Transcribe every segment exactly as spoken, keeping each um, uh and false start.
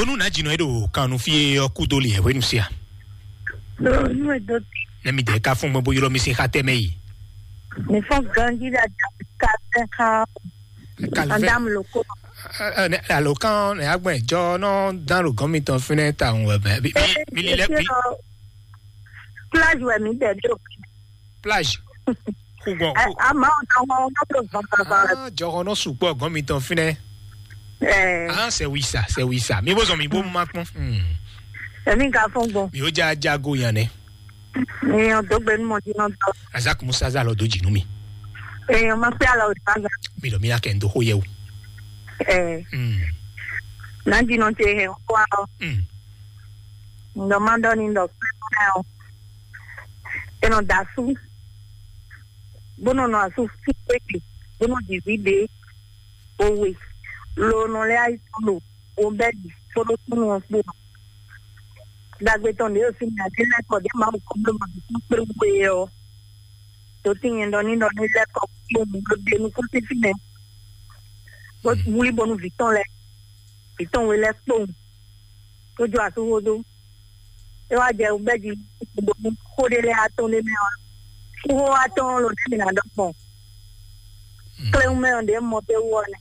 Nú nǎ jǐnɔ e ɖo kan nú fí e ɔ́ kú dó li hwenu sia. Nú e dó. Ne mi dɛ ka fún gbɛn bó ylɔ́ mi sín xá tɛmɛ yi. Mi fɔ́n ganjí ɖe ajá ka tɛ xá. Kalvɛ. Adam loko. Alo kan ne agbɛn jɔ nɔ dan lo gɔn mi tɔn fínɛ ta ŋu wɛ bɛ. Mi li lɛ bi. Plage wɛ mi dɛ ɖo. Plage. Kugbɔ. Ama o tɔn ŋɔ ŋɔ tó zɔn papa. Ah, jɔhɔn nɔ sukpɔ gɔn mi tɔn fínɛ. Ah, c'est oui ça, c'est oui ça. Mi bó zɔn mi bó ma kpɔn. Èmi ka fún gbɔn. Mi ó já jago yan nɛ. Èèyàn tó gbé ní mọ̀ tí wọ́n tọ́. Azak Musa zá lọ dó jì nú mi. Èèyàn máa pé àlọ́ òdì bá zà. Mi lọ mi yá kẹ́ ń dó xó yẹ o. Ẹ̀. Náà jìnnà ṣe hẹ̀ ń kó àlọ́. Ǹdọ̀ máa dọ́ ní ǹdọ̀ pé kó náà o. È nɔ da asú, bó nɔ nɔ asú fún pékè, bó nɔ jǐ ví ɖě, owe, lo nɔ lɛ́ ayí tɔn ɖo, wo bɛ́ ɖi fó ɖó súnnu ɔ́ kpó. Dagbe tɔn ɖě ɖo fínɛ́, ǎ ɖé lɛ́ kɔ ɖě Mawu kɔ bló ma bǐ kpé wú é ɔ́, dǒ tín nyɛ ɖɔ ní ɖɔ ní lɛ́ kɔ kpó mǐ ɖó ɖe nukún sín fínɛ́, bó wlí bónú vǐ tɔn lɛ́ɛ, vǐ tɔn we lɛ́ɛ kpowun, tó jó asú xó dó. É wá jɛ bɛ́ jí bɔ xó ɖé lɛ́ɛ atɔ́n ɖé mɛ ɔ́, xó atɔ́n ló ɖé mi ná ɖɔ gbɔn. Kléwún mɛ ɔ́ ɖě mɔ pé wú ɔ́ nɛ.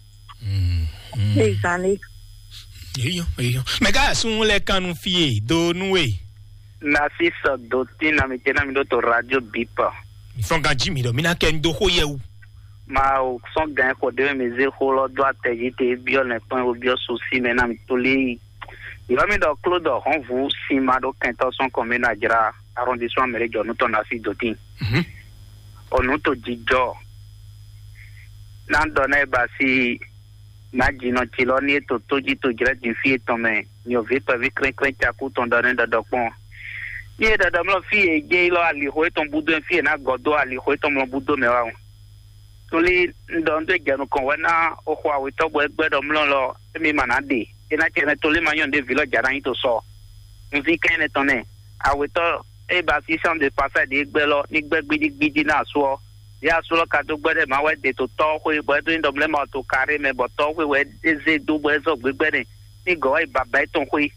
Ezan lé. Eyo, eyo. Mɛ ká sun lɛ kanu fie do nú we. Nasi sɔ do tín na mi tɛ na mi ɖó to radio bipa. Fɔn ganji mi ɖɔ mi ná kɛ ń dó xó yɛ wu. Ma o sɔn gan xɔ ɖé mi zé xó lɔ dó atɛ jí te biɔ lɛ kpɔn wo biɔ so si mɛ na mi to lé yi. Yɔ mi ɖɔ kló dɔ hɔn vu si ma ɖo kɛntɔ sɔn kɔn mi na jra arrondissement mɛrɛ jɔ nu tɔn na si do tin. O nu to jijɔ. Na dɔ na e ba si na jinɔ ci lɔ ni e to to ji to jrɛ din fi etɔn mɛ nyɔvi kpɛvi krɛnkrɛn caku tɔn dɔ ne dɔdɔ kpɔn. Ni e dɔdɔ mlɔ fi e jɛ yi lɔ alixo etɔn budo fi e na gɔ do alixo etɔn mlɔ budo mɛ wa o. Tolí un ɖɔ un ɖó jɛ nukɔn wɛ ná o xɔ awetɔ́ bɔ é gbɛ́ ɖɔ mlɔ́ lɔ émí ma ná ɖe. É ná cɛ nɛ́ tolí ma nyɔ́ ɖěvi lɔ jà ná nyi to sɔ. Un ví kɛn nɛ́ tɔn nɛ́. Awetɔ́ é ba sísán de pasa ɖě gbɛ́ lɔ ní gbɛ́ gbídígbídí ná asú ɔ́. Yě asú lɔ ka dó gbɛ́ ɖɛ má wɛ ɖe to tɔ́ xwé bɔ é ɖó ní ɖɔ mlɛ́ ma to karé mɛ bɔ tɔ́ xwé wɛ é zé dó bɔ é zɔ gbégbɛ́ nɛ ní gɔ̌ wá yi baba étɔn xwé.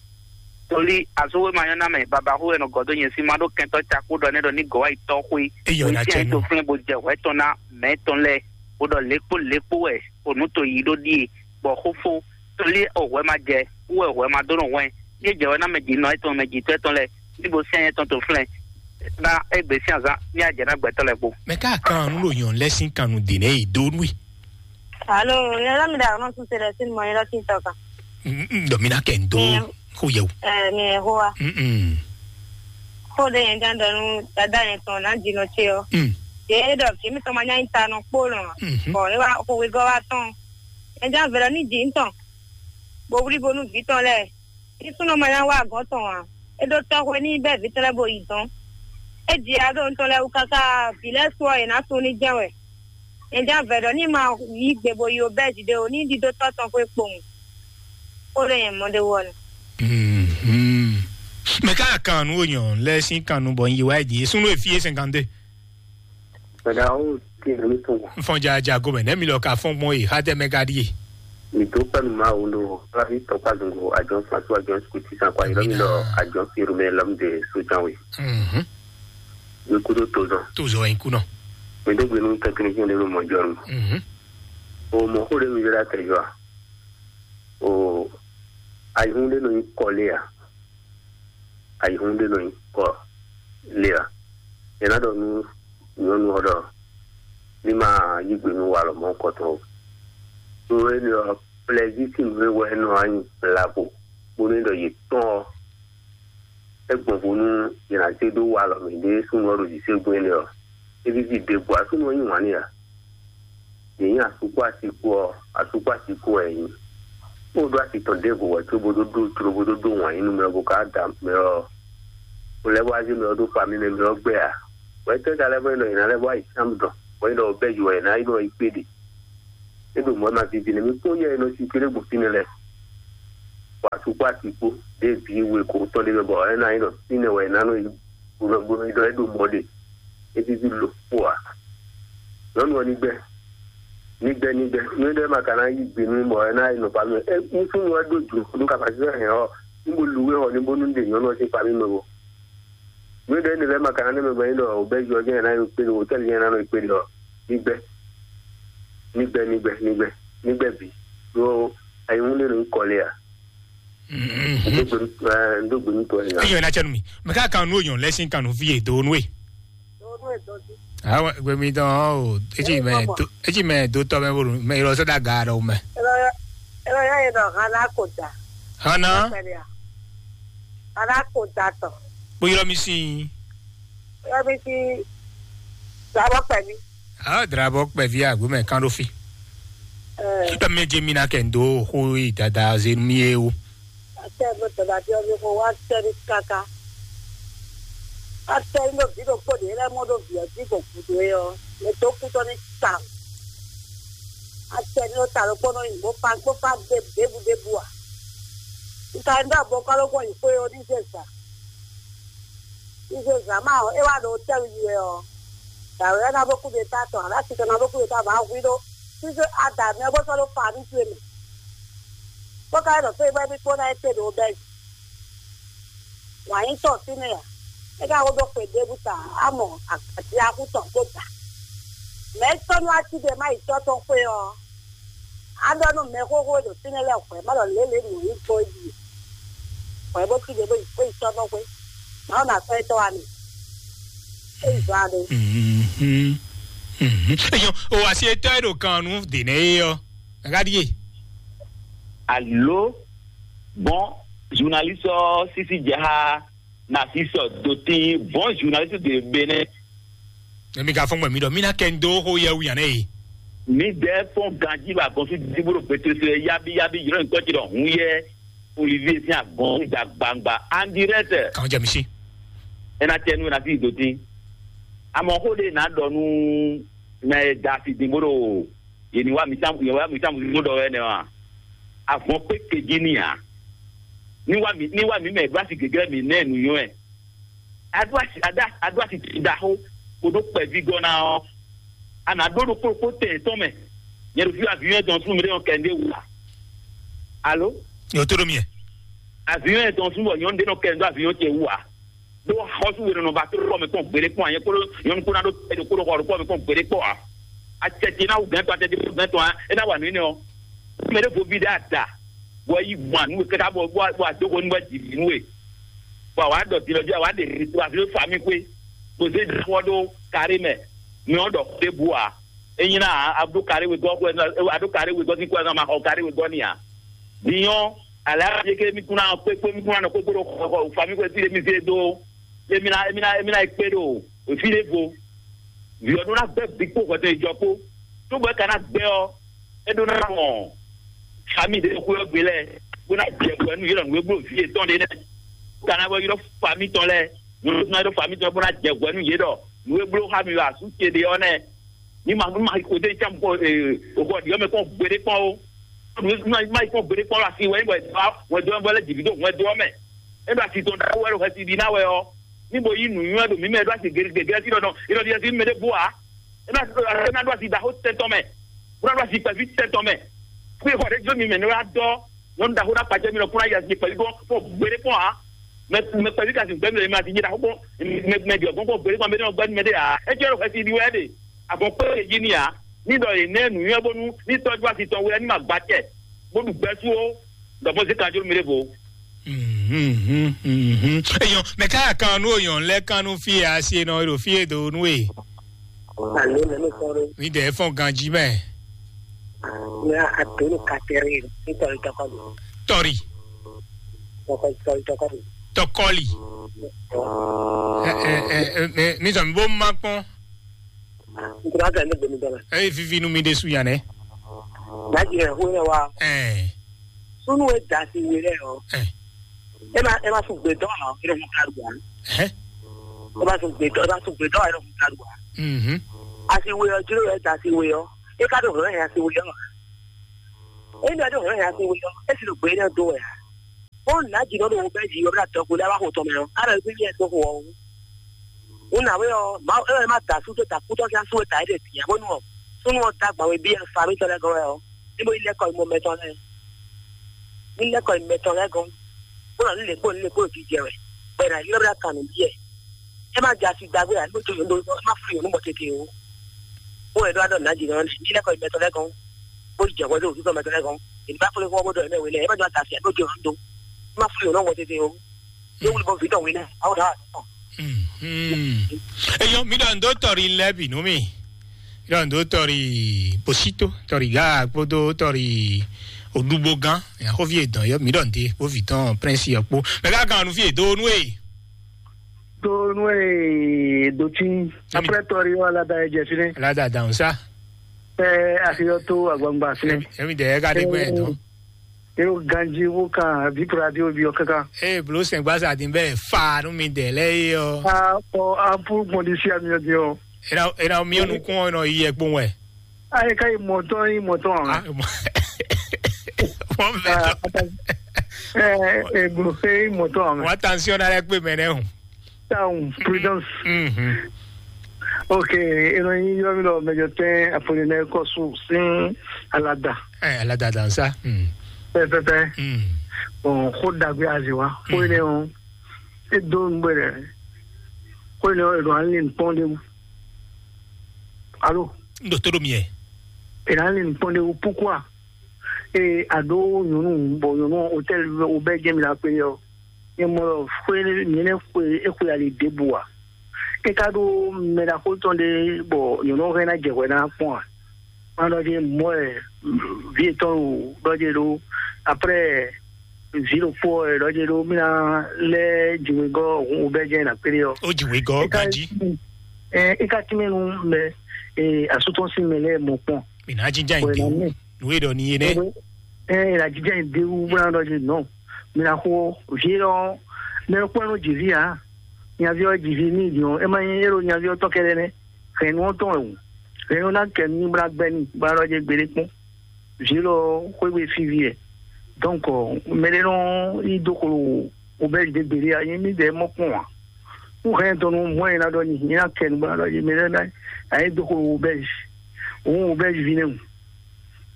Tolí azúwé ma nyɔ́ ná mɛ babaxú wɛ nɔ gɔ̌ dó nyɛ sí ma ɖó kɛntɔ́ cakú ɖɔ nɛ́ ɖɔ ní gɔ̌ wá yi tɔ́ xwé. Eyɔ nya cɛ nú. Tó flɛ́ bó jɛ hwɛ tɔn ná mɛ tɔn lɛ́ɛ bó ɖɔ lékpó lékpó wɛ o nǔ to yí ɖó ɖíe bɔ xófó tolí o hwɛ ma jɛ wú wɛ hwɛ ma dó nɔ hwɛn ní é jɛ wɛ ná mɛ jǐ nɔ étɔn mɛ jǐtɔ́ étɔn lɛ́ɛ ní bo sɛn étɔn to flɛ́ ná égbé sín azán ní ajɛ ná gbɛtɔ́ lɛ́ɛ kpó. Mɛ ká kan nú ɖo nyɔ̌nu lɛ́ɛ sín kan nú dě nɛ́ yi dó nú i. Alo, yɛn lɔ mi ɖe aɣɔnɔ suse ɖe sin mɔ yɛn lɔ tin tɔ kan. Ɖɔ mi ná kɛ n dó xó yɛ o. Ɛ mi yɛ xó wa. Xó ɖe yɛn gán ɖɔ nú dada yɛn tɔn ná jinɔ ce ɔ. Yɛ é ɖɔ kí mi tɔn ma nya nyi ta nɔ kpó nɔ. Bɔn é wa xó wegɔ́ wa tɔn. Yɛn gán vɛlɛ ní jǐ ntɔn. Bo wlí bo nú vǐ tɔn lɛ. Ní súnnu ma nya wá agɔ̌n tɔn ǎ. É ɖó tɔ́xwé ní bɛ́ vǐ tɔn lɛ́ɛ bo yi dɔn. É jǐ aɖó ntɔn lɛ́ɛ wú káká vǐ lɛ́ɛ su ɔ́, è nǎ sun ní jɛ́n wɛ. Nyɛ jɛ́n avɛ ɖɔ ní ma yí gbe bo yi obɛ́zi ɖé o, ní ɖidó tɔ́ tɔn xwé kpowun. Xó ɖé nyɛ mɔ ɖé wɔ nɛ. Mɛ ká kan nú onyɔ lɛ sín kan nú bɔ un yi wá ɛ din. Súnnu e fí é cinquante deux. Bɛ̀dá ó ti nà mí tún wò. N fɔn ja ja gomɛ nɛ mi lɔ ka fɔn gbɔn yi xa tɛ mɛ ka ɖi ye. Mi dó pɛnu ma wo ɖo láfi tɔkpa zungo àjọ fatu àjọ kuti san kwa yìí lọ́mí lọ àjọ fi rumɛ lọ́mí de sójà wé. Mi kúrò tó zɔn. Tó zɔn yín kú náà. Mi dó gbénu tẹkinisiyɛn de ló mọ jọ nù. O mọ kó de mi yẹra tẹ jọ a. O ayihun de nɔ yi kɔlé a. Ayihun ɖé nɔ nyi kɔ lé ǎ. È nǎ ɖɔ nú nyɔ̌nu ɔ́ ɖɔ ní ma yí gbe nú walɔ mɔ̌ kɔtɔn o. Ɖó énɛ́ ɔ́, plɛzísi nǔ e wɛ é nɔ wá nyi blabo bónú é ɖɔ yě tɔ́n ɔ́, é gbɔn vo nú yě ná zé ɖó walɔ mɛ ɖě súnnu ɔ́ ɖo zǐségbɔ́n énɛ́ ɔ́, é víví ɖěbǔ ǎ súnnu ɔ́ yí wǎn n'i ǎ. Yě nyí asú kpó asi kpó ɔ́, asú kpó asi kpó wɛ yě nyí. Bó ɖó asi tɔn ɖěvo wɛ cóbó ɖó ɖó cló bó ɖó ɖó wǎn yí nú mɛ ɔ́ bó ka da mɛ ɔ́, bó lɛ́ bó wá zé mɛ ɔ́ ɖó famí mɛ mɛ ɔ́ gbɛ ǎ. Bɔ é tɛ́ ka lɛ́ bɔ é nɔ yě ná lɛ́ bó wá yi Sámu dɔn, bɔ é nɔ bɛ́ yi wɛ yě ná yi nɔ yi kpé ɖe. É ɖo mɔ̌ ma vivi nɛ mì kpɔ́n yɛ e nɔ si kéré gbo fínɛ́ lɛ́ɛ. Bɔ asú kpó asi kpó ɖěe vǐ we ko tɔn ɖé mɛ bɔ é ná nyí ɖɔ fínɛ́ wɛ é ná nɔ yi bó nɔ bó nɔ yi ɖɔ é ɖo mɔ̌ ɖe. É víví lo kpó ǎ. Nyɔ̌nu ɔ́ ní gbɛ́ ní gbɛ́ ní gbɛ́ nú é ɖɔ é ma ka ná yí gbe nú bɔ é ná yi nɔ ba mɛ é nú súnnu ɔ́ ɖó jlǒ nú kapasitɛ hɛn ɔ́. ní bo lu wé xɔ ní bónú ɖe nyɔ̌nu ɔ́ sín famille mɛ bo. Nǔ e ɖɔ énɛ́ lɛ́ɛ ma ka ná nɛ́ mɛ gbɛn é ɖɔ wǒbɛ́ yɔ jɛ́n ná yi kpé ɖo hotɛ́li jɛ́n ná nɔ yi kpé ɖɔ ní gbɛ́ ní gbɛ́ ní gbɛ́ ní gbɛ́ ní gbɛ́ bǐ. Ɖó ayihún ɖé nɔ nyí kɔ lé a? Ndó gbe nú tɔn nya. Eyɔ ena cɛ nu mi. Mɛ ká kan nu oyɔn lɛ sin kan nu fi e do nu e. Awa gbe mi dɔn o. Etsi mɛ do etsi mɛ do tɔ mɛ bolo mɛ yɔrɔ sɛ da ga ɖɔ mɛ. Ela ya ela ya ye dɔ hana ko da. Hana. Hana ko da tɔ. Kpo yɔrɔ mi sin. Yɔrɔ mi sin. Dabɔ pɛmi. Ah, drabɔ kpɛvi agbo mɛ kan ɖo fi. Ɛɛ. Tɔ mɛ je mi na kɛ ndo xo yi dada ze mi ye o. Atɛ bɛ tɔda bi ɔbi ko wa tɛ ni kaka. Atɛ ni do bi do kpo de lɛ mɔ do bi ɔbi ko kudo ye ɔ. Mɛ to kutɔ ni ta. Atɛ ni o ta lo kpɔnɔ yi mo pa mo pa de debu debu a. Nka ni do abɔ kɔ lo kɔ yi xwe o ni ze sa. Izo zǎn ma ɔ́, é wá ɖo tɛ́wú yi wɛ ɔ́, dǎwe ɔ́ ná bó kú ɖe ta tɔn, alá titɔ ná bó kú ɖe ta bɔ ahwi ɖó. Sísé ada mɛ bó sɔ́ ɖó fa ní towe mɛ. Bó ka ɖɔ fé bɔ é bí kpó ná é te ɖo bɛ́. Wǎn nyí tɔn fínɛ́ ǎ. É ka ko ɖó xwe ɖěbǔ ta, á mɔ aɖiaxú tɔn kpó ta. Mɛ̌ tɔ́ nú ací ɖe má yi tɔ́ tɔn xwé ɔ́, á ɖɔ nú mɛxóxó e ɖo fínɛ́ lɛ́ɛ hwɛ̌ má ɖɔ lě lě nǔ nyí gbɔn é ɖíe. Hwɛ̌ bó cí ɖě bó yi bó yi tɔ́ nɔ xwé. Má ɖɔ nǎ sɔ́ étɔ́ wá mi. É yi zɔ́n aɖé. Mhm. Mhm. Eyɔn, o asi etɔ́ e ɖo kan nu dě nɛ é ɔ́, a ka ɖíe. Alo, bon, journaliste ɔ́ sísí jɛ xá Narcisse Dotin, bon journaliste de Bénin. Emi ka fɔn gbɛ mi ɖɔ mi na kɛ ndo xo yɛ wu yan nɛ ye. Mi dɛ fɔn ganji ba gɔn fi dibo ɖo gbete so yɛ yabi yabi yɔrɔ nkɔ ti ɖɔ hun yɛ Olivier sin agɔn da gbangba en direct. Kan jɛ mi si. Ena tɛ nu na fi Dotin. Amɔ xo de na ɖɔ nu na ye da fi din bo ɖo ye ni wa mi sam ye wa mi sam zo ɖɔ wɛ nɛ wa. Avɔn kpe keji ni a. Ni wa mi ni wa mi mɛ gba si gege mi nɛ nu yɔ ɛ. Aɖó asi aɖá aɖó asi ɖaxó kpódó kpɛví gɔ́ ná ɔ́, a nǎ ɖó ɖokpó ɖokpó tɛn yětɔn mɛ. Nyɛ ɖo fí avion tɔn súnnu ɖé nɔ kɛ ɖé wú a? Alo? Yǒ tó ɖo mì. Avion tɔn súnnu bɔ nyɔnu ɖé nɔ kɛ ɖó avion ce wú a? Ɖó xɔsú we nɔ ba tó ɖo mɛ kpɔn gbeɖé kpɔn a? Nyɛ kpódó nyɔnu kpó ná ɖó tɛ ɖokpó ɖo xɔ ɖokpó mɛ kpɔn gbeɖé kpɔn a? Acɛtɛ ná wú gɛn tɔn, acɛtɛ wú gɛn tɔn a? É ná wa nǔ énɛ́ ɔ́. Mɛ ɖé vo vi ɖé ada, bɔ é yi gbɔn nú we káká bɔ bɔ bɔ adó ko nú wɛ jǐ nú we. Bɔ àwa ɖɔ din lɔ jí àwa ɖe to afi fa mì xwé. Bó zé xɔ ɖó kárí mɛ. Mi ɔ́ ɖɔ xó ɖé bu a? É nyí ná a ɖó kárí we gɔ́ xwɛ a ɖó kárí we gɔ́ sín xwɛ ma xɔ kárí we gɔ́ ni a? Din ɔ́, alǎ yeke mi kún ná kpé kpé mi kún ná nɔ kpé kpé ɖo xɔ fa mì xwé sí ɖé mi zé dó. Émi ná émi ná émi ná yi kpé ɖo fí ɖé vo. Vǐ ɔ́ ɖó ná gbɛ́ vǐ kpó hwɛtɛn jɔ kpó. Tó bɔ é ka ná gbɛ́ ɔ́, é ɖó ná mɔ fami ɖé xwé ɔ́ gbe lɛ́ɛ, bó ná jɛ hwɛ nú yě ɖɔ nǔ e bló vǐ yětɔn ɖé nɛ́. Ka ná bɔ ylɔ́ fami tɔn lɛ́ɛ, nyɔ̌nu ná ylɔ́ fami tɔn bó ná jɛ hwɛ nú yě ɖɔ nǔ e bló xá mi wɛ asú ce ɖe ɔ́ nɛ́. Ní ma ní ma xo dé cán kpɔ́n ee òkò ɔ̀dì ɔ́ mɛ kpɔ́n gbeɖé kpɔ́n ó. Ní ma ní ma yi kpɔ́n gbeɖé kpɔ́n ó, asi wɛ é bɔ wɛ dó ɔ́ bɔ lɛ́ jǐ dó hwɛ dó ɔ́ mɛ. É ɖo asi tɔn ɖaxó wɛ ɖo hwɛsi ɖi ná wɛ ɔ́. Ní bo yí nǔnywɛ́ ɖo mǐ mɛ ɖó asi gěgé gěgé sí ɖɔ nɔ é nɔ ɖi asi mɛ ɖé bó ǎ. É ná é ná ɖó asi ɖaxó tɛn tɔn mɛ. Bó ná ɖó asi kpɛví tɛn tɔn mɛ. Kú é xɔ ɖé jó mi mɛ ní wá dɔ́ nyɔnu ɖaxó ná kpacɛ mi lɔ kún ná yi asi kpɛví gbɔn kpɔ́n gbeɖé kpɔ́n ǎ. Mɛ mɛ kpɛví ka sin gbɛ́ mi lɔ mi asi nyí ɖaxó kpɔ́n mɛ mɛ ɖi ɔgbɔn kpɔ́n gbeɖé kpɔ́n mɛ ɖé nɔ gbɛ́ nú mɛ ɖé ǎ. É jẹ́ ɖo hwɛsi ɖi wɛ ɖe. Avɔn kpé e jí ni ǎ. Ní ɖɔ yě nɛ́ nǔnywɛ́ bónú ní tɔ́jú asi tɔn wɛ ní ma gba acɛ, bó ɖu gbɛ́ sú ó, ɖɔ mɔ zé kanjló mi ɖěvo. Mhm, mhm. Eyɔn, mɛ ká kan nú oyɔn lɛ kan nú fí e asi e nɔ ɖo fí e do nú e. Alo, mɛ mi kɔrɔ. Mi dɛ fɔn ganji mɛ. Ní a donu katɛri ní tɔri tɔkɔ mi. Tɔri. Tɔkɔ tɔri tɔkɔ mi. Tɔkɔli. Ɔ. Ɛ ɛ ɛ ɛ mi sɔ mi bó ma kpɔn. N tora ka ne gbemi dɔla. Eye vivi nu mi ɖe su yan nɛ. Daji ɛ hu yɛ wa. Ɛɛ. Sunu e da si we lɛ ɔ. Ɛ. E ma e ma sun gbe dɔ ɔ e ma sun karu wa. Ɛ. E ma sun gbe dɔ e ma sun gbe dɔ ɔ e ma sun karu wa. Mhm. Asi we ɔ jiro e da si we ɔ. E ka do hɛn asi we ɔ. E nɔ do hɛn asi we ɔ. E si do gbe ne do wɛ. Ó nǎ jǐ nɔ ɖo wo bɛ́ jǐ ɔ́ ɖo adɔgo lɛ́ɛ wá xo tɔn mɛ ɔ́, á nɔ yí yɛ dó xo ɔ́ wú. Nǔ nǎwe ɔ́, Mawu é wɛ má da asú dó da kútɔ́ sín asú e da é ɖe bǐ ǎ, bónú ɔ́, súnnu ɔ́ dó agban we bí ɛ fa mítɔn lɛ́ɛ gɔ́n wɛ ɔ́, é bó yi lɛ́ kɔ yi mɔ mɛtɔn lɛ́ɛ. Ní lɛ́ kɔ yi mɛtɔn lɛ́ɛ gɔ́n. Bó nɔ líle kpó líle kpó jijɛ wɛ. Bɔ è nǎ ylɔ́ ɖó akan nǔ byɔ́ ɛ. É má jɛ asi dagbe ǎ, ní bó jó yǒ ɖó má flú yǒ nú mɔ tete ó. Bó wɛ ɖó adɔ nǎ jǐ nɔ ní lɛ́ kɔ gbɛtɔ́ lɛ́ɛ gɔ́n, bó jɛ hwɛ dó òfin tɔn mɛtɔ́ lɛ́ɛ gɔ́n. Èmi bá flú fún ɔ bó ɖɔ ɛ mɛ wě lɛ́ɛ, é má jɔ ata asi ǎ, bó jó yǒ nú dó. Má flú yǒ nú mɔ tete ó. Yóò wuli bɔ vǐ tɔn wí nɛ, awo ɖa. Eyɔn, mi ɖɔ ndo tɔri lɛbi nú mi. Mi ɖɔ ndo tɔri Bosito, tɔri Ga kpódó tɔri Odúgbógán. Axɔ́ví e dɔn yɔ, mi ɖɔ nde bó vǐ tɔn Prince yɔ kpó. Mɛ ká kan nu fí e do nú e. Do nú e do tí. Après tɔri yɔ alada e jɛ fínɛ. Alada dan sa. Ɛ axiyɔ tó agbangba fínɛ. Emi dɛ ɛ ka ɖe gbɛ dɔn. Ero ganji wo kan vi kura di obi ɔ kaka. Ee blo sɛn gbasa din bɛ fa nu mi dɛ lɛ yi ɔ. A ɔ a pu gbɔn di si ami ɔ di ɔ. Ena ena mi ɔ nukun ɔ nɔ yi yɛ kpɔn wɛ. A yi ka yi mɔtɔn yi mɔtɔn a. Mɔ mɛ tɔ. Ɛ ɛ blo se yi mɔtɔn a mɛ. Wa tension na lɛ kpe mɛ nɛ o. Town Prudence. Mhm. Ok, eno yi yɔ mi lɔ mɛjɔ tɛn Apollinaire Kɔsu sin alada. Ɛ alada dan sa. Mm. Pɛpɛpɛ. Mm. Bon, xó dagbe azi wa. Xó yi ne o. E do nugbe dɛ. Xó yi ne o, e do ali nukpɔn de wu. Alo. N do to do miɛ. E do ali nukpɔn de wu. Pourquoi? E a do nyɔnu bɔ nyɔnu hôtel o bɛ jɛ mi la pe yɔ. Nyɛ mɔ ɖɔ xwé nyɛ nɛ xwe é xwe ali ɖěbǔ ǎ. É ka ɖó mɛ ɖaxó tɔn ɖé bɔ nyɔ̌nu ɔ́ hɛn ná jɛ hwɛ ná kpɔ́n ǎ. Má ɖɔ jí mɔ̌ ɛ vǐ yětɔn ɖo ɖɔ jí ɖó. Après vǐ ɖokpó ɔ́ ɖɔ jí ɖó mí ná lɛ́ jǐwegɔ́ hun wobɛ́ jɛ́n ná kplé ɔ́. Ó jǐwegɔ́ ganjí. É ka tínmɛ nú mɛ asú tɔn sín mɛ lɛ́ɛ mɔ kpɔ́n. Mǐ ná jínjɔ́n ayǐ dé wú. Nǔ e ɖɔ ní é nɛ́. Ɛ ɛ la jijɛ yi de wu bla ɖɔ jí nɔ. Mina xo vi lɔ mɛ kpɔn nɔ dzi vi a. Nyavi ɔ dzi vi ni di ɔ, ema nyi ero nyavi ɔ tɔ kɛɖɛ nɛ. Hɛn nɔ tɔn ewu. Hɛn nɔ na kɛ ni bla gbɛ ni bla ɖɔ dze gbede kpɔn. Vi lɔ xwegbe fi vi ɛ. Donc mɛ ɖe nɔ yi do kolo o bɛ de gbede a, nyi mi dɛ mɔ kpɔn a. N hɛn tɔn nu mɔ ɛ na ɖɔ ni nyi na kɛ ni bla ɖɔ dze mɛ ɖe na ayi do kolo o bɛ. Òun o bɛ vi nɛ o.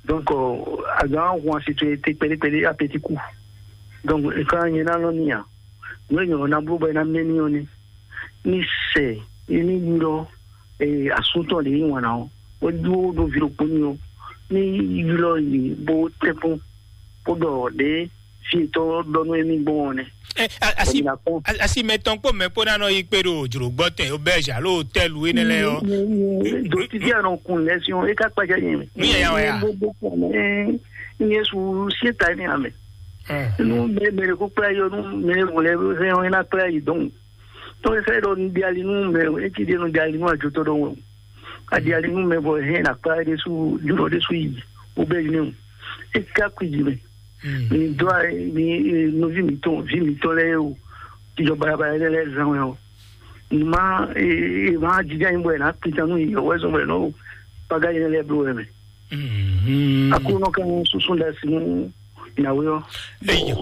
Donc, euh, azǎn ahwan si towe te kpɛɖé kpɛɖé apetiku. Donc, kan nyɛ ná lɔ ní a. Nú e nyɔ̌ ná bló bɔ é ná mɛ ní ɔ́ ní. Ní sɛ é ní ylɔ́ asúntɔ́ ɖě yí wǎn ná ɔ́, bó dó ɖó ví ɖokpó ní ɔ́, ní ylɔ́ yě bó tɛ́nkpɔ́n, bó ɖɔ ɖě fí yětɔn ɖɔ nú émí gbɔn ɔ́ nɛ́. Ɛ, a- asi Bɔ mi ná kpɔ́n. A- asi mɛ tɔn kpó mɛ kpó ná nɔ yi kpé ɖo jlǒgbɔ́ tɛn auberge alo hôtel énɛ́ lɛ́ɛ ɔ́. Dotidi anɔ kun lɛ si ɔn, e ka kpaja nyɛ mɛ. Nu yɛya wɛ ya? Bo bo kpɔn mɛ. Nyɛ su sie ta ni amɛ. Ɛ, Nu mɛ mɛ ko kpla yɔ nu mɛ vo lɛ hɛn ɔn ina kpla yi dɔn. Tɔ e fɛ dɔ nu di ali nu mɛ, e ti di nu di ali nu ajo tɔ dɔ wɛ. A di ali nu mɛ bɔ hɛn na kpla de su jurɔ de su yi. O bɛ yi ne o. E ka kui ji mɛ. Mi dó a mi nɔvi mǐtɔn vi mǐtɔn lɛ́ɛ o, ìjọ balabala lɛ́ɛ lɛ́ɛ zán wɛ ɔ. Má má jija yín bɔ ɛ ná kpita nú yìí ɔwɛ zɔn bɔ ɛ nɔ o paga yín lɛ́ɛ bló wɛ mɛ. Aklúnɔ kan susu da si nú ìyàwó yɔ.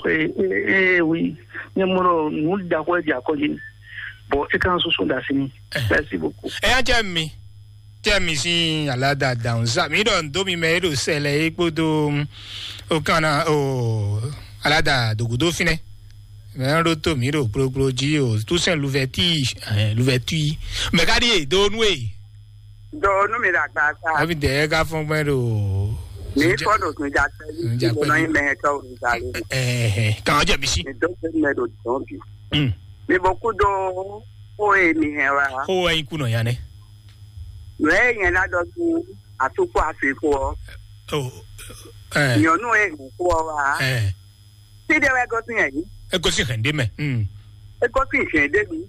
Ee wi, nyɛ mɔ nɔ nù da xɔ ɛ di akɔji, bɔ e kan susu da si ni. Merci beaucoup. Ɛ yá jẹ́ mi. Tɛ́ mi sín aládàádáhùn sá mi ɖɔ ndo mi mɛ e ɖo sɛlɛ é kpódó o kan na o aládàá dògúdó fínɛ mɛ ɖó tó mi ɖo kplokplo jí o túsɛn luvɛtí luvɛtí mɛ ká ɖíe dó nú e. Dó nú mi ɖo agba sá. Ɛbi dɛ ká fɔn gbɛ ɖo. Mi kɔ ɖo sunjatɛ ní sunjatɛ ní mɛ tɔ o nìgbà lé. Ɛhɛn kàn jẹ mi sí. Mi dó gbé mɛ ɖo dɔn bi. Mi bɔ kú dó ó e mi hɛn wa. Kó wá yín kùnà yá nɛ. Nǔ e nyɛ ná ɖɔ nú atúkpó afixo ɔ́, nyɔ̌nu e hɛn xó ɔ́ wá, fí ɖé wɛ gosín ɛ yí. É gosín hɛn ɖé mɛ. É gosín hɛn ɖé mi.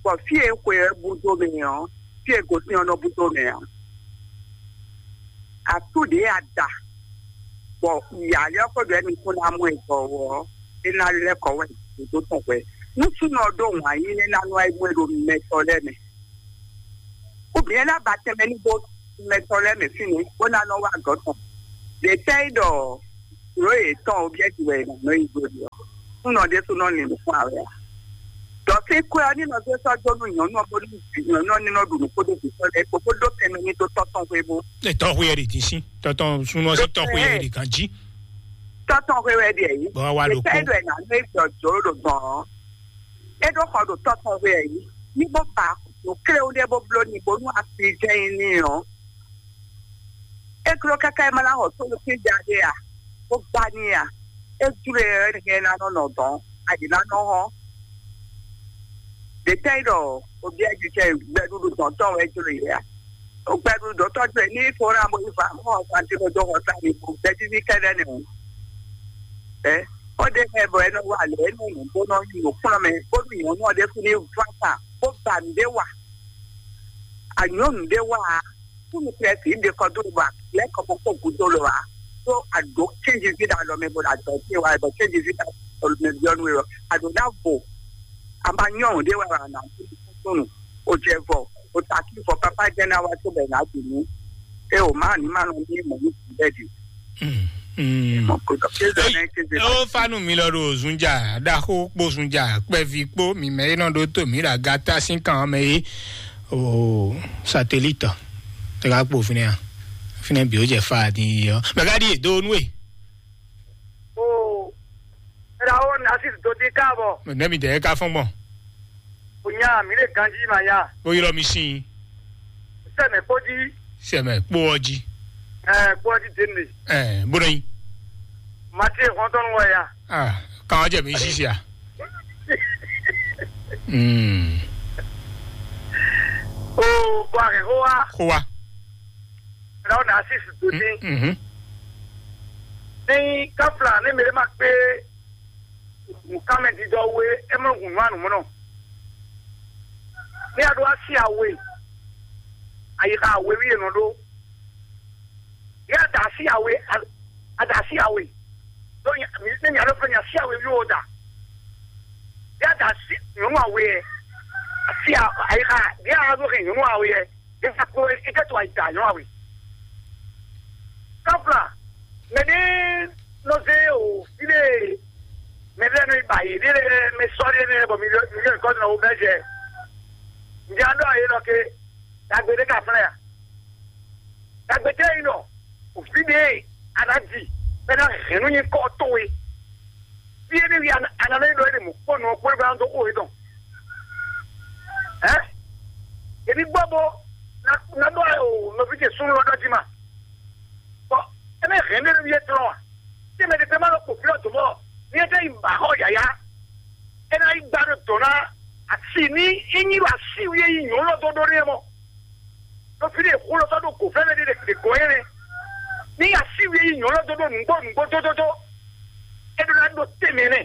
Bɔ fí e xwe ɔ́ búdó mɛ ɔ́, fí e gosín ɔ́ nɔ búdó mɛ ɔ́. Atú ɖě a da, bɔ yǎyá ɔ́ kó ɖɔ émi kún ná mɔ ɛ gbɔ ɔ́, é ná lɛ́ kɔ wɛ dó tɔn hwɛ. Nú súnɔ ɔ́ ɖó wǎn yí nɛ́ ná nɔ wá yi mɔ ɛ ɖo mɛtɔn lɛ́ɛ mɛ. Ubiyɛn ná ba tɛnmɛ ní bó mɛtɔn lɛ́ɛ mɛ fínɛ́ bó ná nɔ wá gɔ̌ tɔn. Ɖě tɛ́ é ɖɔ nǔ e yě tɔn ó byɛ́ ji wɛ è nǎ nɔ yi dó ɖi ɔ́, súnɔ ɖésú nɔ lin nǔkún awɛ ǎ. Dɔ̌ fí kwɛ́ ɔ́ ní nɔ zé sɔ́ dó nú nyɔ̌nu ɔ́ bónú nyɔ̌nu ɔ́ ní nɔ ɖu nǔ kpódó vǐ tɔn lɛ́ɛ kpó bó ɖó tɛnmɛ ní dó tɔ́ tɔn xwé bó. Ɛ tɔ́ xwé ɛ ɖi dín sín tɔ́ tɔn súnú ɔ́ sín tɔ́ xwé ɛ ɖi gǎn jí. Tɔ́tɔn hwe wɛ ɖe yìí. Bɔ wá ɖo kpɔ́n. Ɖo nǎ nú éjɔ jǒ ɖo gbɔn ɔ́. É ɖó xɔ ɖo tɔ́tɔn hwe yìí. Ní bó ba nǔ kléwú ɖé bó bló ní bónú asi jɛ́n nyí ní ɔ́. É kló káká é má ná xɔ tónú sín ja ɖé a? Bó gbá ní a? É jló e ɔ́ é ná nɔ nɔ dɔn, ayi ná nɔ hɔn. Ɖě tɛ́ nyí ɖɔ obyɛ́ jijɛ gbɛɖuɖu dɔn tɔn wɛ jló e a? Ó gbɛɖuɖu dɔn tɔn jló e ní fó ná bó yi fa mɔ fanti ko dó xɔ sa ní bó gbɛjíví kɛ́ɖɛ́ nɛ o. Ɛ ó ɖe mɛ bɔ é nɔ wa lě é nɔ nǔ bó nɔ nyi nǔkplɔ́nmɛ bónú nyɔ̌nu ɔ́ ɖésú ní ván sa bó ba nǔɖé wa. Anyɔ̌nu ɖé wá a, kúmi Klɛ́si ɖe kɔ dó bɔ lɛ́ kɔ kókó gúdo lɔ a, ɖó a ɖǒ kéjizí ɖo alɔ mɛ bɔ a dɔ̌ ce wá bɔ kéjizí ɖo alɔ mɛ byɔ́ nú we ɔ́, a ɖǒ ná vo. A ma nyɔ́ ɖé wá a nǎ kúkúnú, o jɛ vɔ, o ta kí vɔ pápá jẹ́ ná wá tó bɛ nǎ dì nú. É o má ní má nɔ ní mɔ̌ ní bɛ́ dì. Mm, mm. Ó fanu mi lɔ ɖo zunja ɖaxó kpó zunja kpɛvi kpó mi mɛ e nɔ ɖó tó mi ɖo agata sín kan mɛ é. O satelite tɛ ka kpo fínɛ a? Fínɛ bi ó jɛ fa din yi ɔ mɛ ka ɖi do nú e. O ra o na si do ti ka bɔ. Nɛ mi dɛ ka fɔn gbɔn. O nya mi le ganji ma ya. O yɔrɔ mi sin. Sɛmɛ kpodi. Sɛmɛ kpó ɔji. Ɛ kpodi dende. Ɛ bónɔ yi. Mati hɔntɔn wɔ ya. Ah, kan ɔjɛ mi sisi a. Mm. O bɔ a kɛ ko wa. Ko wa. Ra o na si su do ti. Mhm. Ni kafla ne mele ma kpe. Nǔkanmɛdídɔwú e é mɔ hun nǔ anǔmlɔ. Ní a ɖó asi awe, ayixa awe wí è nɔ ɖó. Ní a da asi awe, a da asi awe. Ɖó nya- mi- ní nya ɖó fɛn nya asi awe wí o da. Ní a da asi nyɔ̌nu awe yɛ, asi a- ayixa ní a ɖó hɛn nyɔ̌nu awe yɛ. Eza kpo eke to ayi ta nyɔ awe. Kafla, mɛ ɖe nɔ zé o fide mɛ ɖe nɔ ba yi ɖe mɛ sɔ ɖe nɛ bɔ mi mi yɔ kɔ na wo bɛ jɛ. Ndi an dɔ ayi nɔ ke dagbe ɖe ka flɛ ya. Dagbe tɛ yi nɔ o fide ana di bɛ na hɛn nu nyi kɔ to we. Fie ɖe wi ana ɖe ɖɔ ɖe mɔ kpɔnɔ kpɔnɔ ba dó xo yetɔn. Ɛ? Ebi gbɔ bo na na ɖɔ o nɔvi ce sunu lɔ ɖɔ ji ma. Bɔn eme hɛn ɖe wi etɔn wa. Te mɛ ɖe ma lɔ kpo fi ɔtɔ mɔ. Ni ete yi ba xɔ yaya. Ena yi gba ɖo dɔn na asi ni enyi ɖo asi wi eyi nyɔ lɔ dɔ ɖo ɖe mɔ. Ɖo fi ɖe xó lɔ sɔ́ ɖo gǒ fɛ́nɛ ɖé ɖe gɔ́ nyɛ nɛ́. Ní así we yi nyɔ̌ lɔ dó ɖó nǔgbó nǔgbó dódódó. É ɖó ná ɖó tɛnmɛ nɛ́.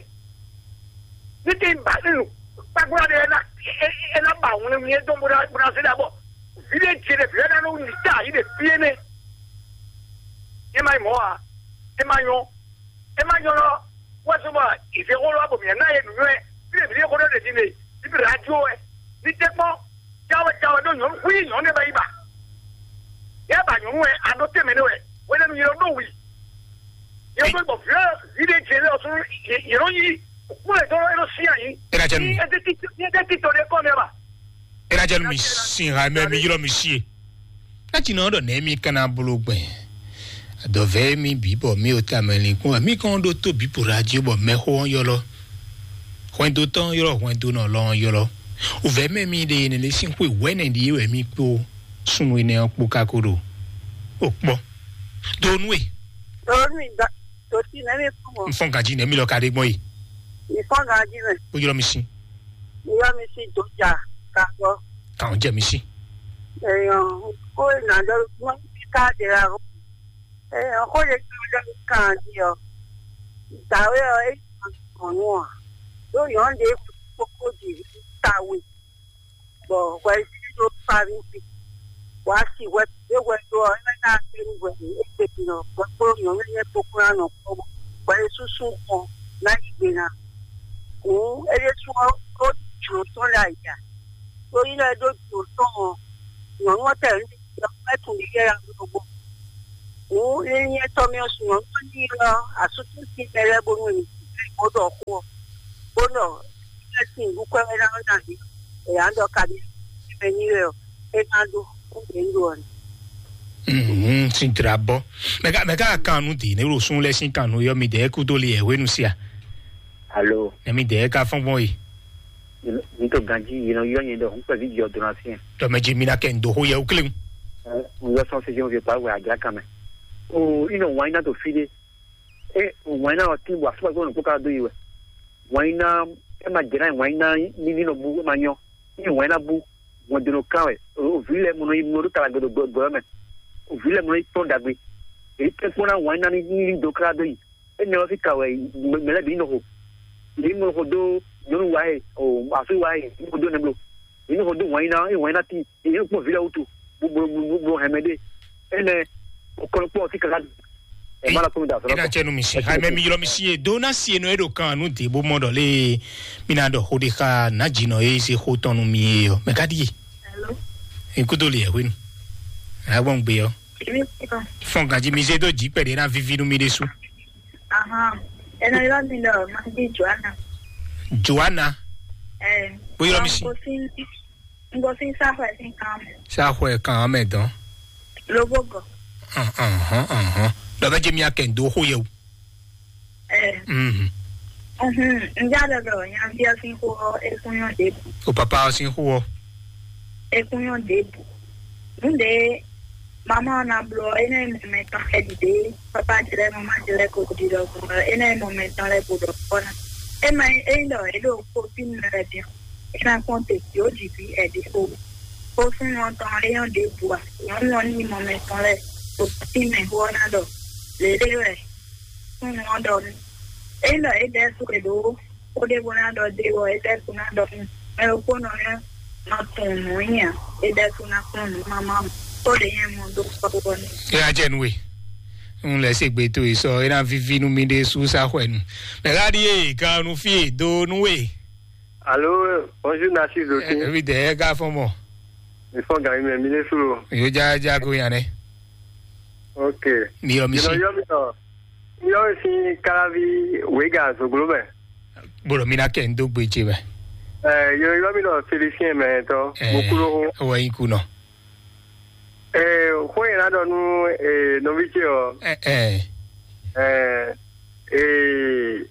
Ní te ba ní nu kpákplá ɖé é ná é ná ba wlɛnwlɛn dó bó ná bó ná zé ɖa bɔ vǐ ɖé ce ɖé vǐ ɖé ná nɔ wú nǐ ta yí ɖe fí énɛ́. É má nyí mɔ̌ ǎ. É má nyɔ́. É má nyɔ́ lɔ wɛ́sú bɔ ìzé xó lɔ bɔ mǐ ná yɛ nǔnywɛ́. Fí ɖé vǐ ɖé xó ɖé ɖe din ɖe bíbí ɖé ná jó wɛ. Ní tɛ́ kpɔ́n. Jáwé jáwé ɖó nyɔ̌nu xwí nyɔ̌nu ɖé bɔ yi ba. Yɛ ba nyɔ̌nu wɛ a ɖó tɛnmɛ nɛ wɛ. Wɛnɛ nu yɛ ɖó wi. Yɛ ɖó bɔ vǐ vǐ ɖé jɛ lɛ ɔsùn yɛ ɖó yi. Kúlẹ̀ tó yɛ ɖó sí àyí. Ena jɛ nu. Ní ɛdí títí ní ɛdí títí tó ɖé kọ́ mi ba. Ena jɛ nu mi sin ha mɛ mi ylɔ mi sie. Ná tsi nɔ ɖɔ nɛ mi kana bolo gbɛn. Adɔvɛ mi bǐ bɔ mi o ta mɛ linkpɔn wɛ mi kɔn ɖó tó bǐ po ɖo ají bɔ mɛxó ɔ́ ylɔ. Hwɛndo tɔn ylɔ hwɛndo nɔ lɔ ylɔ. Ovɛ mɛ mi ɖe ne le sín xwe wɛnɛ ɖi wɛ mi kpo sunu enɛ ɔ́ kpo kako ɖo. O kpɔ. Do nu e. Tòónú ìgbà tòtí nẹ́mí fún wọn. N fɔn ganji nɛ mi lɔ ka ɖe gbɔn yi. Ìfọ́n ganji mẹ́. O ylɔ mi si. Ìyá mi sì dòjà kàgbọ́. Kàn jẹ mi si. Èèyàn kó ìnàjọ wọn fi káàdì ra o. Èèyàn kó lè fi ọjọ́ kan di ọ. Ìgbàwé ọ èèyàn kàn nù ọ. Yóò yàn án lè kókó dì í kàwé. Bɔ hwɛ yí ɖó Farisi. Wǎ si hwɛ é hwɛ ɖó ɔ́, é ná kpé nú hwɛ é kpé nɔ hwɛ kpó nyɔ̌nu nyɛ kpókpó ná nɔ kpɔ́. Hwɛ é súsú xɔ ná yí gbe ná. Hǔn é ɖésú ɔ́, ó jlǒ tɔn lɛ ayǐ a? Ɖó nyí lɛ́ ɖó jlǒ tɔn ɔ́, nyɔ̌nu ɔ́ tɛ nǔ ɖi ɔ́, é tunwun ɖi yɛ ya ɖó gbɔn. Hǔn é nyí étɔ́ mɛ ɔ́, nyɔ̌nu ɔ́ ní ylɔ́ asútúsi mɛ lɛ́ɛ bónú è nǐ bó ɖɔ xó ɔ́, bó ɖɔ é sín nǔɖuɖu wɛ ná ná ɖi è nǎ ɖɔ ka ɖi mɛ ní wɛ ɔ́, é ná ɖó kúɖě ń ɖo ɔ́ nɛ. Mhm, sin dra bɔ. Mɛ ka mɛ ka kan nu di ne ɖo sun lɛ sin kan nu yɔ mi dɛ kudo li yɛ hwenu sia. Alo, Ne mi dɛ ka fɔn gbɔn yi. N to ganji yi nɔ yɔ nyɛ ɖɔ n kpɛ vi jɔ dona fiɛ. Dɔ mɛ ji mi na kɛ n do ho yɛ ukle. N yɔ sɔn se jɔn fi pa wɛ adra kan mɛ. O, ino wine na to fi de. E wine na o ti wa so ko no ko ka do yi wɛ. Wine na e ma jɛ na wine na ni ni no bu e ma nyɔ. Ni wine na bu. Wọn do no kan wɛ. O vi lɛ mo no yi mo do kala gbedo gbɔ mɛ. O vi lɛ mo no yi tɔn dagbe. E tɛ kpɔn na wine na ni ni do kala do yi. Énɛ́ ɔ́ sín ka wɛ mɛ lɛ́ɛ bǐ nɔ xo. Yě nɔ xo dó nyɔ̌nu wa e, o asú wa e, bó dó nɛbló. Yě nɔ xo dó wǎn yíná, é wǎn yíná tíin, yě nɔ kpɔ́n vǐ lɛ́ɛ wútu, bó bló bó bló hɛmɛ ɖé. Énɛ́, o kɔn kpɔ́n ɔ́ sín káká. Ɛ má lɔ kpɔ́n mi da sɔlɔ. Ena tsɛ nu mi si. Hai mɛ mi ylɔ mi si e do na si enɔ e ɖo kan nu de bó mɔ ɖɔ lé mi na ɖɔ xo ɖe xa na dzi nɔ e se xo tɔn nu mi e ɔ mɛ ka ɖi e. Hello. Ekudo le yɛ hwenu. Agbɔn gbe ɔ. Èmi kọ́. Fɔn ganji mi zé dó dzi pɛ̀lú ena vivi nu mi ɖe su. Ahan. Ena yɔ mi lɔ, ma di Joana. Joana. Ɛ. Bó ylɔ mi si. N gosín sáfù ẹ̀ sín kan mẹ́. Sáfù ẹ̀ kan mẹ́ dán. Lobó gọ̀. Ahàn, ahàn. Dɔ bɛ jɛ mi akɛ ndo xo yɛ o. Ɛ. Mhm. Mhm. N já dɔdɔ nyaví ɔ́ sín xó ɔ́, é kún nyɔ́ ɖěbǔ. O papa ɔ́ sín xó ɔ́. É kún nyɔ́ ɖěbǔ. Nǔɖé mama ɔ́ ná bló ɔ́, é ná nyí mɔ mɛtɔn xɛɖiɖe, papa ce lɛ́ɛ, mama ce lɛ́ɛ ko ɖiɖɔ gbɔn ɔ́, é ná nyí mɔ mɛtɔn lɛ́ɛ ko ɖɔ kpɔ́ ná. É ma nyí ényí ɖɔ é ɖo kófínu lɛ́ɛ bǐ ɔ́, é ná kpɔ́n te jǒ jǐ ví ɛɖi xo. Xó súnnu ɔ́ tɔn ɔ́, é nyɔ́ ɖěbǔ ǎ. Nyɔ̌nu ɔ́ ní nyí mɔ mɛtɔn lɛ́ɛ, ɖo kófímɛ xó ɔ́ ná ɖɔ lěɖé wɛ súnnu ɔ́ ɖɔ nú. Ényí ɖɔ é ɖɛ́ sú è ɖǒ xó ɖé bó ná ɖɔ dó é wɔ, é ɖɛ́ sú ná ɖɔ nú mɛ ɖokpónɔ ɔ́ ná tunwun nǔ nyi ǎ, é ɖɛ́ sú ná kplɔ́n nǔ mamá mɔ, xó ɖě nyɛ mɔ dó kpɔ́ ɔ́ n'i. É ná jɛ nú we. Un lɛ́ se gbe towe sɔ é ná víví nú mì ɖésú sá xwɛ nu. Mɛ ká ɖíe kan nu fí e dó nú we. Alo, bonjour Narcisse Dokin. Ebi dɛ ɛ ká fɔn mɔ. Mi fɔn gǎn mi mɛ mi lé suro. Yójájá ko yan nɛ. Ok. Mi yɔ mi si. Yɔ mi tɔ. Mi yɔ mi si kalavi wega zoglo mɛ. Bolo mi na kɛ n dó gbe ce mɛ. Ɛ yɔ yɔ mi tɔ Félicien mɛ tɔ. Mo kulo ho. Wɔ yi kunɔ. Ɛ xó yẹn na dɔ nú ɛ nɔvi ce ɔ. Ɛ ɛ. Ɛ ɛ.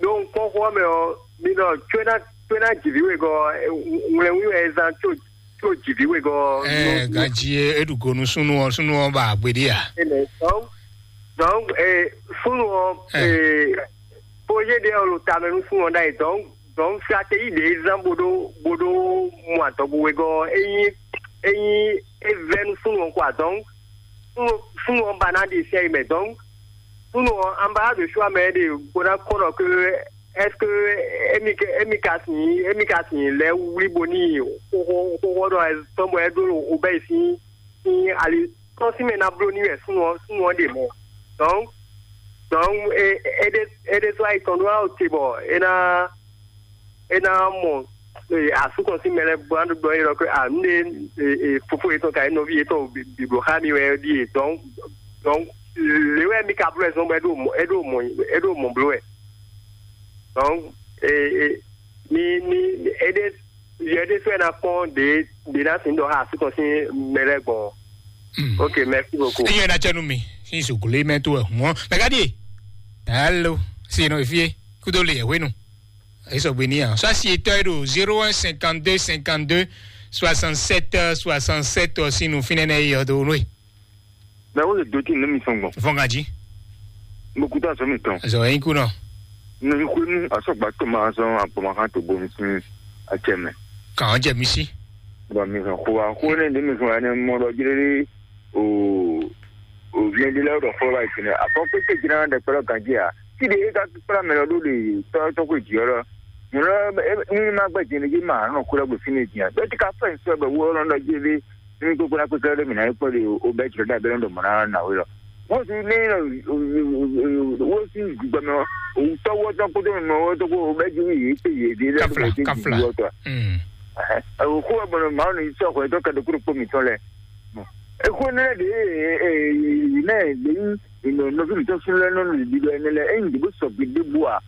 Ɖó un kpɔ́n xó ɔ́ mɛ ɔ́, mi ɖɔ có é ná có é ná ji vǐ wegɔ́ ɔ́, ŋlɛ́nwí wɛ é zán có có ji vǐ wegɔ́ ɔ́. Ɛɛ ganji e é ɖu go nú súnnu ɔ́, súnnu ɔ́ ba agbe ɖé a? Énɛ́. Donc donc e súnnu ɔ́ e projet ɖé ɔ́ ɖo tamɛ nú súnnu ɔ́ ɖ'ayǐ. Donc donc stratégie ɖě é zán bó ɖó bó ɖó mɔ adɔgo wegɔ́ ɔ́, é nyí é nyí é vɛ́ nú súnnu ɔ́ quoi. Donc súnnu súnnu ɔ́ ba ná ɖe sɛ́ yi mɛ. Donc súnnu ɔ́, an ba ɖo sua mɛ ɖe bó ná kɔn ɖɔ que est-ce que émi ka émi ka sin émi ka sin lɛ wlí bo ní xóxó xóxó ɖɔ tɔn bɔ é ɖó obɛ sín sín ali tɔn sín mɛ ná bló ní wɛ súnnu ɔ́ súnnu ɔ́ ɖe mɔ. Donc donc é é ɖe é ɖe sɔ́ ayi tɔn ɖó awo te bɔ é ná é ná mɔ asú tɔn sín mɛ lɛ́ɛ bó ná ɖɔ é ɖɔ que a nǔɖé fofó yětɔn ka nyí nɔví yětɔn bǐbló xá mi wɛ ɖíe. Donc donc lě wɛ mi ka bló wɛ zɔn bɔ é ɖo mɔ é ɖo mɔ é ɖo mɔ bló wɛ. Donc e e mi mi e ɖe yɛ ɖé fɛ ná kpɔn ɖě ɖě ná sin ɖɔ xá asú tɔn sín mɛ lɛ́ɛ gbɔn. Ok, merci beaucoup. Eyɛn na cɛ nu mi sin sukulu yi mɛ to ɛ hɔn mɛ ka di. Alo, si nɔ fie kudo le yɛ hwenu. Esɔgbe ní yan sɔ asi etɔ e ɖo zéro un cinquante deux cinquante deux soixante sept soixante sept ɔ sín nu fínɛ́ nɛ yi ɔdɔ wonú e. Mɛ wo le do tí nínú mi sɔn gbɔn. Fɔn ka jí. Mo kú tó azɔ mi tɔn. Azɔ yín kú nɔ. Ní xwénu asɔgba tó ma azɔ agbɔmɔhan tó bomi sín atsɛ mɛ. Kàn án jẹ mi sí. Bɔn mi hàn xó wa xó ne ní mi hàn ne mɔ ɖɔ jlélé o o viɛn ɖé lɛ ɖɔ fɔlɔ yi tɛnɛ afɔ pépé jìnnà ɖe kpɛlɛ ganji a. Tí ɖe é ká kpla mɛ lɔ ɖó ɖe tɔ tɔ ko jì ɔlɔ. Nyɔlɔ ní ma gbɛ jɛnɛ jí ma nɔ kó lɛ gbè fínɛ jìnnà bɛ tí ká fɛ nsɔ bɛ wó ɔlɔ ɖɔ jlélé. Ní gbogbo la kpékpé ɖé mǐ ná yi kpɔ́ ɖe o bɛ jlɔ́ ɖe abɛ́ ɖɔ mɔ̌ ná ná wé lɔ. Wọ́n ti ní wọ́n ti gbẹmọ òwúntọ́ wọ́tọ́ kótó mọ̀ wọ́tọ́ kó o bɛ ju yìí pé yìí dé lẹ́nu kó o ti ju wọ́tọ́. Òkú ọgbọ̀nọ̀ màá ní sọ ọkọ̀ ẹ̀tọ́ kẹ́dọ̀ kúrò pọ̀ mí tán lẹ̀. Èkó ní ẹ̀ dé náà lè ní ìnà nọ́fíìlì tó sún lẹ́nu nínú ìdílé ẹni lẹ ẹ̀yìn ìdìbò sọ̀gbìn dé bu à.